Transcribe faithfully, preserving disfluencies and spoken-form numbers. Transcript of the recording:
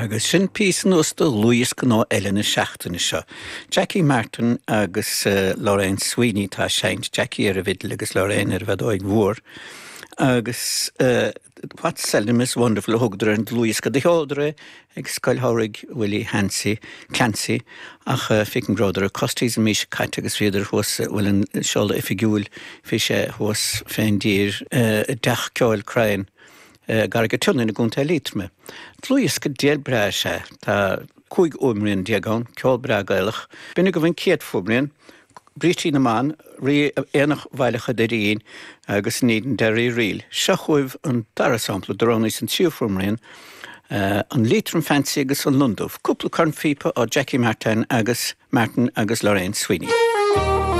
Agus sin píosa nua de dhlúthdhiosca nua eile na seachtaine seo. Jackie Martin agus uh, Lorraine Sweeney tá ag seinnt Jackie ar an bhfidil agus Lorraine ar an bhfeadóig mhór. Agus uh, What Seldom is Wonderful a thugadar ar an dlúthdhiosca do sheoladar é ag Scoil Shamhraidh Willie Hancy Clancy ach uh, feicim go rabhadar i Costas an mhí seo caite agus bhíodar thuas bhfuil an seoladh oifigiúil bhí sé thuas fén dtír uh, dteach ceoil Crane. Uh, Carraig an tSionnain i gContae Liatroma. Dlúthdhiosca diail breá sé tá cúig fhuaimrian déag ann ceol breá Gaelach. B'in agaibh an chéad fuaimrian, Brístí na mBan, rí Aonach Bhaile Choirín agus an Edenderry Reel. Seo chugaibh an dara sampla de roghnaíos an tríú fuaimrian, uh, an Leitrim Fancy agus an Londubh. Cúpla cornphíopa ó Jackie Martin agus Martin agus Lorraine Sweeney.